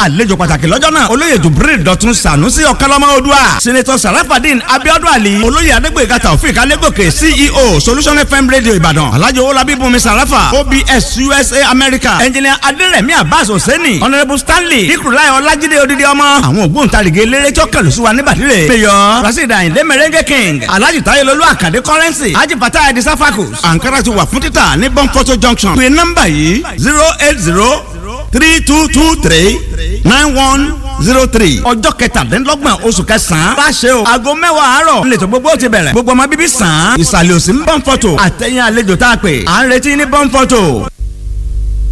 Àlejò pàtàkì lọ́jọ́ náà, Olóyè Jubril Dọ̀tun Sànúsí Ọ̀kánlọ́mọ Odua, Senator Sarafadin Abiodun Ali, Olóyè Adégbèga Taofik Alégòkè, CEO Solution FM Radio Ìbàdàn, Alhaji Owólabí Bùnmi Sarafa, OBS USA America, Engineer Adérẹ̀mí Abbas Hosseini, Honourable Stanley Ikurulai Ọlájídé Odidi Ọmọ. Àwọn ògbóǹtarìgì eléré tí ó kẹlù sí wa ní bàdìrẹ, Mayor Rasheed Ayinde Merengue King, Alhaji Tayelolu Akande Currency, Haji Fatah Edi Safakus. Ankara ti wà fún títà ní Bonfoto Junction. Pè nọ́mbà yìí: 08032239103. Ọjọ́ 27 oṣù kẹsàn-án bá ṣe o, aago 10 àárọ̀ nílẹ̀ tó gbogbo ti bẹ̀rẹ̀. Gbogbo ọmọ bíbí sàn án ìsàlẹ̀ òsì ń Bonfoto. Àtẹ̀yìn àlejò tá a pè à ń retí ní Bonfoto.